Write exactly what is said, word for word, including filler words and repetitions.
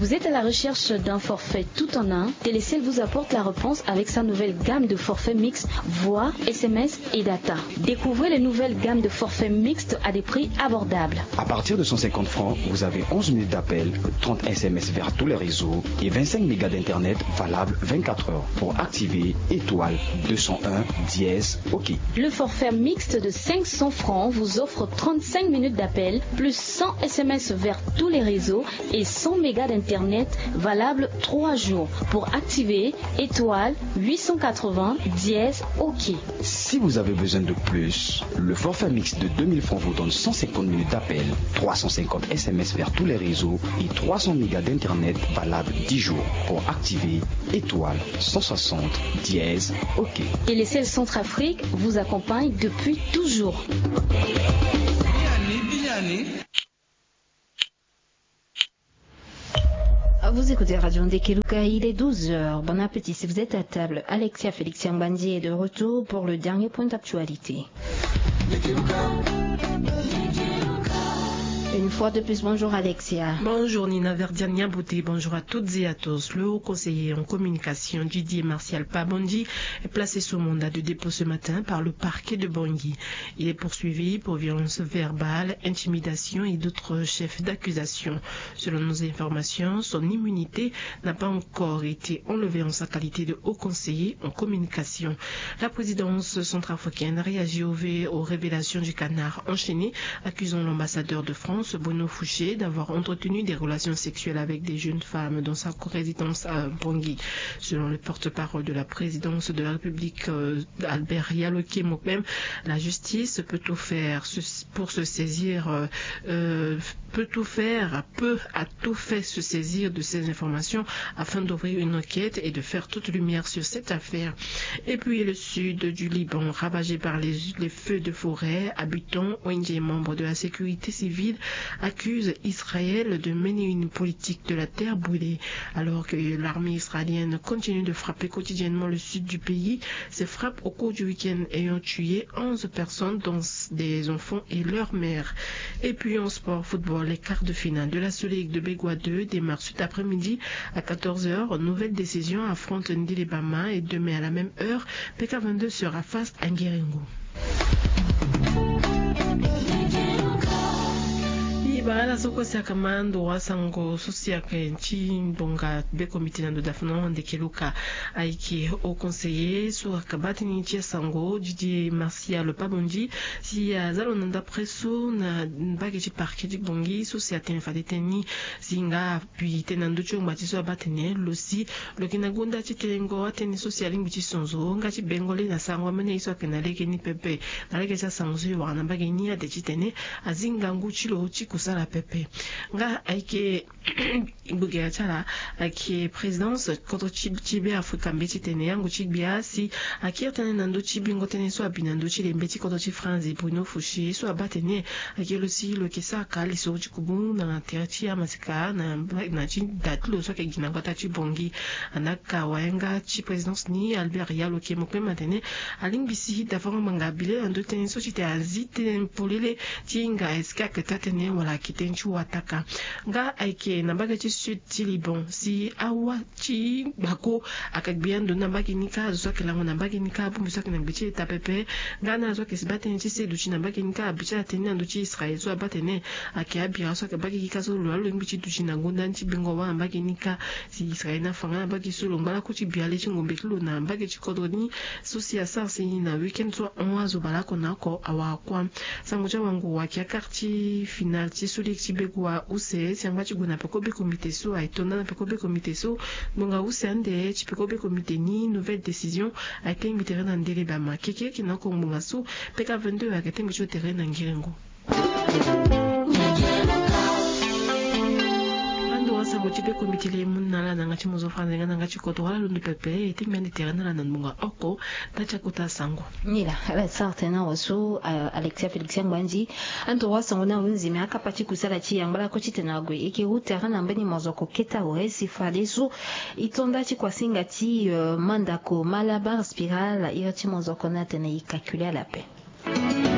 Vous êtes à la recherche d'un forfait tout en un ? Télécel vous apporte la réponse avec sa nouvelle gamme de forfaits mixtes voix, S M S et data. Découvrez les nouvelles gammes de forfaits mixtes à des prix abordables. À partir de cent cinquante francs, vous avez onze minutes d'appel, trente S M S vers tous les réseaux et vingt-cinq mégas d'internet valable vingt-quatre heures. Pour activer, étoile deux cent un dièse, OK. Le forfait mixte de cinq cents francs vous offre trente-cinq minutes d'appel, plus cent S M S vers tous les réseaux et cent mégas d'internet valable trois jours. Pour activer, étoile huit cent quatre-vingts dièse, OK. Si vous avez besoin de plus, le forfait mixte de deux mille francs vous donne cent cinquante minutes d'appel, trois cent cinquante S M S vers tous les réseaux et trois cents mégas d'internet valable dix jours. Pour activer, étoile cent soixante dièse, OK. Télécel Centrafrique vous accompagne depuis toujours. Vous écoutez Radio Ndekeluka, il est douze heures. Bon appétit si vous êtes à table. Alexia Félix Yambandi est de retour pour le dernier point d'actualité. Une fois de plus, bonjour Alexia. Bonjour Nina Verdiania Bouté, bonjour à toutes et à tous. Le haut conseiller en communication, Didier Martial Pabondi, est placé sous mandat de dépôt ce matin par le parquet de Bangui. Il est poursuivi pour violence verbale, intimidation et d'autres chefs d'accusation. Selon nos informations, son immunité n'a pas encore été enlevée en sa qualité de haut conseiller en communication. La présidence centrafricaine réagit au V aux révélations du canard enchaîné, accusant l'ambassadeur de France, Bruno Fouché, d'avoir entretenu des relations sexuelles avec des jeunes femmes dans sa résidence à Bangui. Selon le porte-parole de la présidence de la République, euh, Albert Yaloke Mokbem, la justice peut tout faire pour se saisir, euh, euh, peut tout faire, peut à tout fait se saisir de ces informations afin d'ouvrir une enquête et de faire toute lumière sur cette affaire. Et puis le sud du Liban, ravagé par les, les feux de forêt, habitants, O N G et membres de la sécurité civile accusent Israël de mener une politique de la terre brûlée. Alors que l'armée israélienne continue de frapper quotidiennement le sud du pays, ces frappes au cours du week-end ayant tué onze personnes, dont des enfants et leur mère. Et puis en sport football, les quarts de finale de la Soccer League de Begoua deux démarrent cet après-midi à quatorze heures. Nouvelle Décision affronte Ndilibama et demain à la même heure, P K vingt-deux sera face à Nguerengo. Ibara la soko siaka ma ndo wa sango so siaka ti ndonga be komite na ndo dafno ndeke luka. Ayeke haut conseiller so aka baa tënë ti asango Didier Martial Pabondi si aza lo na ndapre so na mbage ti parquet ti Bangui so si atene fade tënë ni si nga apui tënë na ndö ti ongba ti so abaa tene lo si lo yeke na gonda ti tengo atënë so si alingbi ti sonzo nga ti bengo le na sango amene ye so ayeke na lege ni pepe. Na lege ti asango so e wara na mbage ni ade titene azi ngangu ti lo ti kusala pepe. Nga ayeke gbogera ti ala ayeke présidence kodro ti ti be afrika mbeti tene yango ti gbia si akiri tënë na ndö ti bingo tënë so abi na ndö ti lembe ti kodro ti franzi Bruno Fouché so abaa tene akiri lo si lo yeke sara ka lisoro ti kubu na tere ti amaseka na na ti da ti lo so ayeke gi na gbata ti Bangui. Andaa ka wayanga ti présidence ni Albert Yalo Kemokpema atene alingbi si davango ngbanga abile na ndö ti tënë so ti tene azi tënë polele ti hinga est-ce que ayeke taa tënë wala ayeke tënë ti wataka. Nga ayeke na mbage ti sud ti Liban si awa ti gbako aka gbia ndo ni na mbage ni kâ azo so ayeke lango na mbage ni kâ abongbi so ayeke na gbe ti eta pepe. Nga na azo ayeke si baa tënë ti se duti na mbage ni kâ abi ti ala tënë na ndö ti Israël so abaa tënë ayeke abira so ayeke mbage ni kâ so lo laa lo lingbi ti duti na gonda ni ti bingo wâ na mbage ni kâ. Si Israël ni afa nga na mbage so lo ngba lakue ti bia le ti ngombe ti lo na mbage ti kodro ni so si asara si na week-end so ahon azo baleoko na oko awara kuâ. Sango ti awango waki akar ti final ti so lege ti bego wa use si angba ti gue na peko be komite so aye to nda na peko be komite so. Ngbonga use ande ti peko be komite ni nouvelle décision aye tengbi tere na ndele bama keke yeke na oko ngbonga so peka vingt-deux ayeke tengbi ti otere na ngiringo. Ando asango ti be komite le mu na ala na yanga ti mozo franze nga na yanga ti kodro wala londo pepe e tengbi ande tere na ala na ngbonga oko. Nda ti akota asango. Ni laa ala sara tënë na awe so alexia félix angbandi. Ando asango ni ahunzi me akapa ti kusala ti yangba lakue titene ague eke hu tere na mbeni mozoko keta awe si fade so e to nda ti kuasinga ti mandako malabar spiral iri ti mozoko ni atene e kakule ala ape.